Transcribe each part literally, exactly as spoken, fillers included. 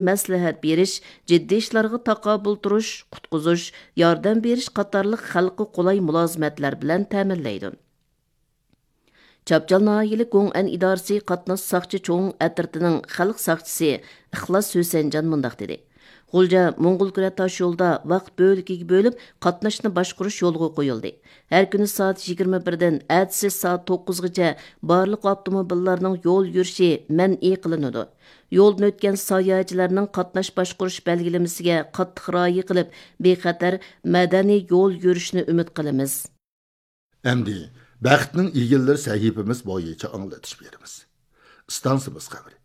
مەسلىھەت بېرىش، جىددىي ئىشلارغا تاقابىل تۇرۇش، قۇتقۇزۇش، ياردەم بېرىش قاتارلىق خەلققە قولاي مۇلازىمەتلەر بىلەن تەمىنلەيدۇ. چاپچال ناھىيەلىك گوڭئەن ئىدارىسى قاتناش ساقچى چوڭ ئەترىتىنىڭ خەلق ساقچىسى ئىخلاس ھۈسەنجان مۇنداق دېدى: غۇلجا موڭغۇل كۈرە تاشيولىدا ۋاقىت بۆلىكىگە بۆلۈپ قاتناشنى باشقۇرۇش يولغا قويۇلدى. ھەر كۈنى سائەت يىگىرمە بىردىن ئەتىسى سائەت توققۇزغىچە بارلىق ئاپتوموبىللارنىڭ يول يۈرۈشى مەنئى قىلىنىدۇ. يولدىن ئۆتكەن ساياھەتچىلەرنىڭ قاتناش باشقۇرۇش بەلگىلىمىسىگە قاتتىق رىئايە قىلىپ، بىخەتەر، مەدەنىي يول يۈرۈشىنى ئۈمىد قىلىمىز. ئەمدى بەختنىڭ ئىگىلىرى سەھىپىمىز بويىچە ئاڭلىتىش بېرىمىز. ئىستانسىمىز خەۋىرى.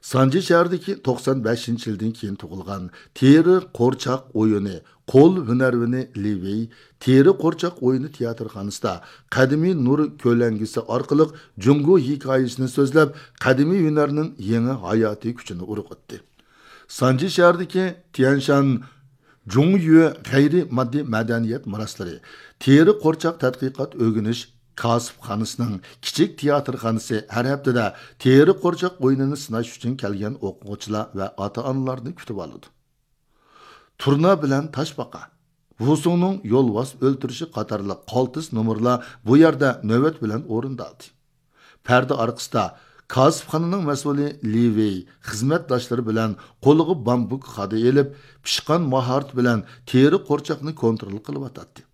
سانجى شەھىرىدىكى توقسان بەشىنچى يىلدىن كېيىن تۇغۇلغان تېرە قورچاق ئويۇنى قول ھۈنەرۋىنى لى ۋېي تېرە قورچاق ئويۇنى تىياتىرخانىسىدا قەدىمىي نۇر كۆلەڭگىسى ئارقىلىق جۇڭگو ھېكايىسىنى سۆزلەپ، قەدىمىي ھۈنەرنىڭ يېڭى ھاياتىي كۈچىنى ئۇرغۇتتى. سانجى شەھىرىدىكى تيەنشان جۇڭيۈ غەيرىي ماددىي مەدەنىيەت مىراسلىرى تېرە قورچاق تەتقىقات ئۆگىنىش كاسىپخانىسىنىڭ كىچىك تىياتىرخانىسى ھەر ھەپتىدە تېرە قورچاق ئويۇنىنى سىناش ئۈچۈن كەلگەن ئوقۇغۇچىلار ۋە ئاتا-ئانىلارنى كۈتۈۋالىدۇ. تۇرنا بىلەن تاشپاقا. ۋۇسۇڭنىڭ يولۋاس ئۆلتۈرۈشى قاتارلىق قالتىس نومۇرلار بۇ يەردە نۆۋەت بىلەن ئورۇندالدى. پەردە ئارقىسىدا كاسىپخانىنىڭ مەسئۇلى لى ۋېي خىزمەتداشلىرى بىلەن قولىغا بامبۇك خادا ئېلىپ، پىشقان ماھارىتى بىلەن تېرە قورچاقنى كونترول قىلىۋاتاتتى.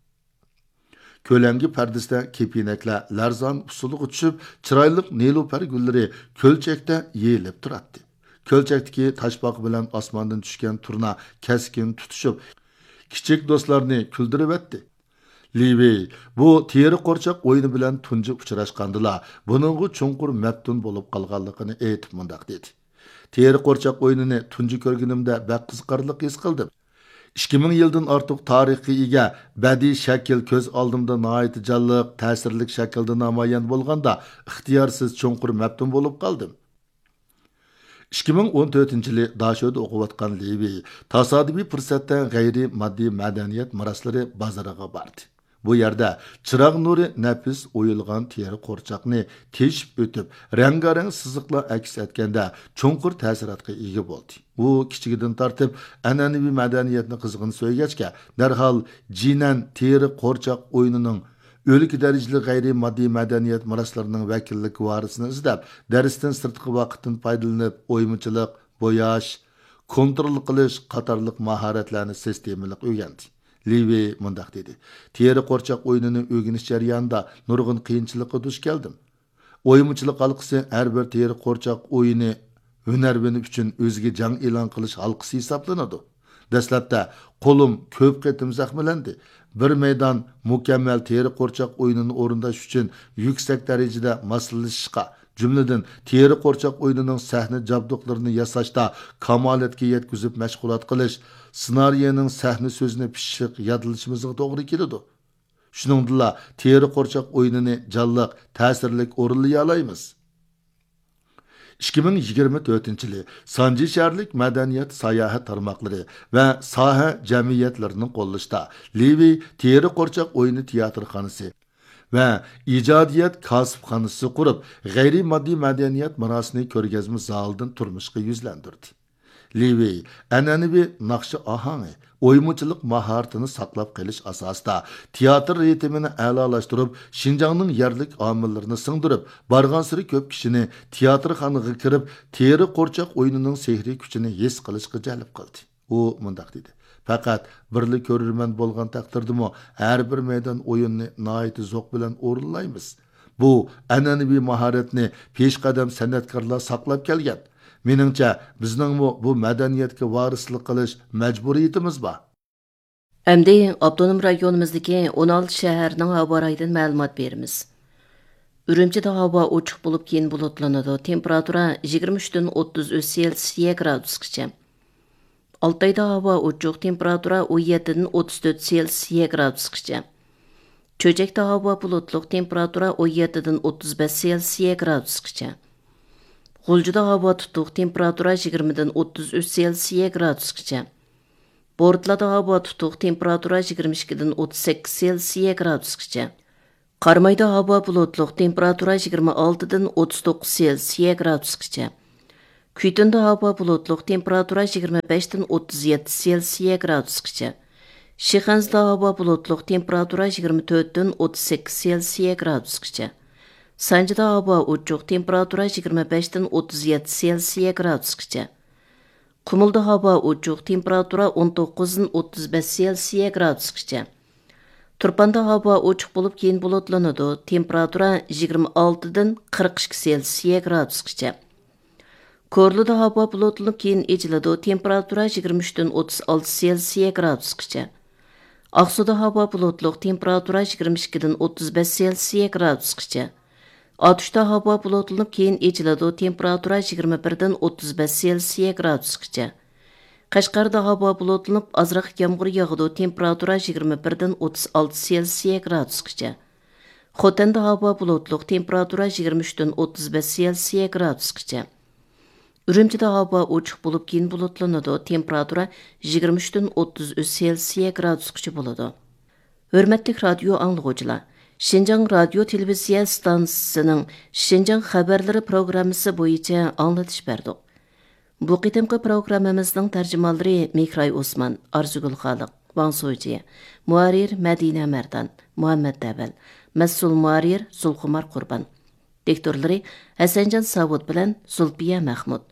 كۆلەڭگە پەردىسىدە كېپىنەكلەر لەرزان ئۇسسۇلغا چۈشۈپ، چىرايلىق نېلۇپەر گۈللىرى كۆلچەكتە يېيىلىپ تۇراتتى. كۆلچەكتىكى تاشپاقا بىلەن ئاسماندىن چۈشكەن تۇرنا كەسكىن تۇتۇشۇپ، كىچىك دوستلارنى كۈلدۈرۈۋەتتى. لى ۋېي بۇ تېرە قورچاق ئويۇنى بىلەن تۇنجى ئۇچراشقاندىلا، بۇنىڭغا چوڭقۇر مەپتۇن بولۇپ قالغانلىقىنى ئېيتىپ مۇنداق دېدى: تېرە قورچاق ئويۇنىنى تۇنجى كۆرگىنىمدە بەك قىزىقارلىق ھېس قىلدىم. ئىككى مىڭ يىلدىن ئارتۇق تارىخقا ئىگە بەدىئىي شەكىل كۆز ئالدىمدا ناھايىتى جانلىق، تەسىرلىك شەكىلدە نامايان بولغاندا، ئىختىيارسىز چوڭقۇر مەپتۇن بولۇپ قالدىم. ئىككى مىڭ ئون تۆتىنچى يىلى داشۆدە ئوقۇۋاتقان لى ۋېي تاسادىپىي پۇرسەتتە غەيرىي ماددىي مەدەنىيەت مىراسلىرى بازىرىغا باردى. بۇ يەردە چىراغ نۇرى نەپىس ئويۇلغان تېرە قورچاقنى تېشىپ ئۆتۈپ، رەڭگارەڭ سىزىقلار ئەكس ئەتكەندە چوڭقۇر تەسىراتقا ئىگە بولدى. ئۇ كىچىكىدىن تارتىپ ئەنئەنىۋى مەدەنىيەتنى قىزغىن سۆيگەچكە، دەرھال جىنەن تېرە قورچاق ئويۇنىنىڭ ئۆلكە دەرىجىلىك غەيرىي ماددىي مەدەنىيەت مىراسلىرىنىڭ ۋەكىللىك ۋارىسىنى ئىزدەپ، دەرستىن سىرتقى ۋاقىتتىن پايدىلىنىپ، ئويمىچىلىق، بوياش، كونترول قىلىش قاتارلىق ماھارەتلەرنى سىستېمىلىق ئۆگەندى. لى ۋېي مۇنداق دېدى: تېرە قورچاق ئويۇنىنى ئۆگىنىش جەريانىدا نۇرغۇن قىيىنچىلىققا دۇچ كەلدىم. ئويمىچىلىق ھالقىسى ھەر بىر تېرە قورچاق ئويۇنى ھۈنەرۋىنى ئۈچۈن ئۆزىگە جەڭ ئېلان قىلىش ھالقىسى ھېسابلىنىدۇ. دەسلەپتە قولۇم كۆپ قېتىم زەخىملەندى. بىر مەيدان مۇكەممەل تېرە قورچاق ئويۇنىنى ئورۇنداش ئۈچۈن يۈكسەك دەرىجىدە ماسلىشىشقا، جۈملىدىن تېرە قورچاق ئويۇنىنىڭ سەھنە جابدۇقلىرىنى ياساشتا كامالەتكە يەتكۈزۈپ مەشغۇلات قىلىش، سېنارىيەنىڭ سەھنە سۆزىنى پىششىق يادلىشىمىزغا توغرا كېلىدۇ. شۇنىڭدىنلا تېرە قورچاق ئويۇنىنى جانلىق، تەسىرلىك ئورۇنلىيالايمىز. ئىككى مىڭ يىگىرمە تۆتىنچى يىلى سانجى شەھەرلىك مەدەنىيەت ساياھەت تارماقلىرى ۋە ساھە جەمئىيەتلىرىنىڭ قوللىشىدا لى ۋېي تېرە قورچاق ئويۇنى تىياتىرخانىسى ۋە ئىجادىيەت كاسىپخانىسى قۇرۇپ، غەيرىي ماددىي مەدەنىيەت مىراسىنى كۆرگەزمە زالىدىن تۇرمۇشقا يۈزلەندۈردى. لى ۋېي ئەنئەنىۋى ناخشا ئاھاڭى، ئويمىچىلىق ماھارىتىنى ساقلاپ قېلىش ئاساسىدا، تىياتىر رىتىمىنى ئەلالاشتۇرۇپ، شىنجاڭنىڭ يەرلىك ئامىللىرىنى سىڭدۈرۈپ، بارغانسېرى كۆپ كىشىنى تىياتىرخانىغا كىرىپ، تېرە قورچاق ئويۇنىنىڭ سېھرىي كۈچىنى ھېس قىلىشقا جەلپ قىلدى. ئۇ مۇنداق دېدى: پەقەت بىرلا كۆرۈرمەن بولغان تەقدىردىمۇ، ھەر بىر مەيدان ئويۇننى ناھايىتى زوق بىلەن ئورۇنلايمىز. بۇ ئەنئەنىۋى ماھارەتنى پېشقەدەم سەنئەتكارلار ساقلاپ كەلگەن. مېنىڭچە، بىزنىڭمۇ بۇ مەدەنىيەتكە ۋارىسلىق قىلىش مەجبۇرىيىتىمىز بار. ئەمدى ئاپتونوم رايونىمىزدىكى ئون ئالتە شەھەرنىڭ ھاۋا رايىدىن مەلۇمات بېرىمىز. ئۈرۈمچىدە ھاۋا ئوچۇق بولۇپ، كېيىن بۇلۇتلىنىدۇ. تېمپېراتۇرا يىگىرمە ئۈچتىن ئوتتۇز ئۈچ سېلسىيە گرادۇسقىچە. ئالتايدا ھاۋا ئوچۇق، تېمپېراتۇرا ئون يەتتىدىن ئوتتۇز تۆت سېلسىيە گرادۇسقىچە. چۆچەكتە ھاۋا بۇلۇتلۇق، تېمپېراتۇرا ئون يەتتىدىن ئوتتۇز بەش سېلسىيە گرادۇسقىچە. غۇلجىدا ھاۋا تۇتۇق، تېمپېراتۇرا يىگىرمىدىن ئوتتۇز ئۈچ سېلسىيە گرادۇسقىچە. بورتالادا ھاۋا تۇتۇق، تېمپېراتۇرا يىگىرمە ئىككىدىن ئوتتۇز سەككىز سېلسىيە گرادۇسقىچە. قارامايدا ھاۋا بۇلۇتلۇق، تېمپېراتۇرا يىگىرمە ئالتىدىن ئوتتۇز توققۇز سېلسىيە گرادۇسقىچە. كۈيتۇندا ھاۋا بۇلۇتلۇق، تېمپېراتۇرا يىگىرمە بەشتىن ئوتتۇز يەتتە سېلسىيە گرادۇسقىچە. شىخەنزىدە ھاۋا بۇلۇتلۇق، تېمپېراتۇرا يىگىرمە تۆتتىن ئوتتۇز سەككىز سېلسىيە گرادۇسقىچە. سانجىدا ھاۋا ئوچۇق، تېمپېراتۇرا يىگىرمە بەشتىن ئوتتۇز يەتتە سېلسىيە گرادۇسقىچە. قۇمۇلدا ھاۋا ئوچۇق، تېمپېراتۇرا ئون توققۇزدىن ئوتتۇز بەش سېلسىيە گرادۇسقىچە. تۇرپاندا ھاۋا ئوچۇق بولۇپ، كېيىن بۇلۇتلىنىدۇ، تېمپېراتۇرا يىگىرمە ئالتىدىن قىرىق ئىككى سېلسىيە گرادۇسقىچە. كورلىدا ھاۋا بۇلۇتلىنىپ، كېيىن ئېچىلىدۇ، تېمپېراتۇرا يىگىرمە ئۈچتىن ئوتتۇز ئالتە سېلسىيە گرادۇسقىچە. ئاقسۇدا ھاۋا بۇلۇتلۇق، تېمپېراتۇرا يىگىرمە ئىككىدىن ئوتتۇز بەش سېلسىيە گرادۇسقىچە. ئاتۇشتا ھاۋا بۇلۇتلىنىپ، كېيىن ئېچىلىدۇ، تېمپېراتۇرا يىگىرمە بىردىن ئوتتۇز بەش سېلسىيە گرادۇسقىچە. قەشقەردە ھاۋا بۇلۇتلىنىپ، ئازراق يامغۇر ياغىدۇ، تېمپېراتۇرا يىگىرمە بىردىن ئوتتۇز ئالتە سېلسىيە گرادۇسقىچە. خوتەندە ھاۋا بۇلۇتلۇق، تېمپېراتۇرا يىگىرمە ئۈچتىن ئوتتۇز بەش سېلسىيە گرادۇسقىچە. ئۈرۈمچىدە ھاۋا ئوچۇق بولۇپ، كېيىن بۇلۇتلىنىدۇ، تېمپېراتۇرا يىگىرمە ئۈچتىن ئوتتۇز ئۈچ سېلسىيە گرادۇسقىچە بولىدۇ. ھۆرمەتلىك رادىيو ئاڭلىغۇچىلار، شىنجاڭ رادىيو تېلېۋىزىيە ئىستانسىسىنىڭ شىنجاڭ خەۋەرلىرى پروگراممىسى بويىچە ئاڭلىتىش بەردۇق. بۇ قېتىمقى پروگراممىمىزنىڭ تەرجىمانلىرى مېھراي ئوسمان، ئارزۇگۈل خالىق، ۋاڭ سوجى، مۇھەررىر مەدىنە مەردان، مۇھەممەت دەۋەل، مەسئۇل مۇھەررىر زۇلخۇمار قۇربان، دىكتورلىرى ھەسەنجان ساۋۇت بىلەن زۇلپىيە مەخمۇت.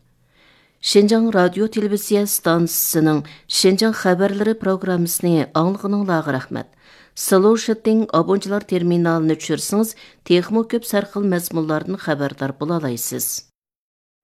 شىنجاڭ رادىيو تېلېۋىزىيە ئىستانسىسىنىڭ شىنجاڭ خەۋەرلىرى پروگراممىسىنى ئاڭلىغىنىڭلارغا رەھمەت. سلوشىتىڭ ئابونچىلار تېرمىنالىنى چۈشۈرسىڭىز، تېخىمۇ كۆپ سەرخىل مەزمۇنلاردىن خەۋەردار بولالايسىز.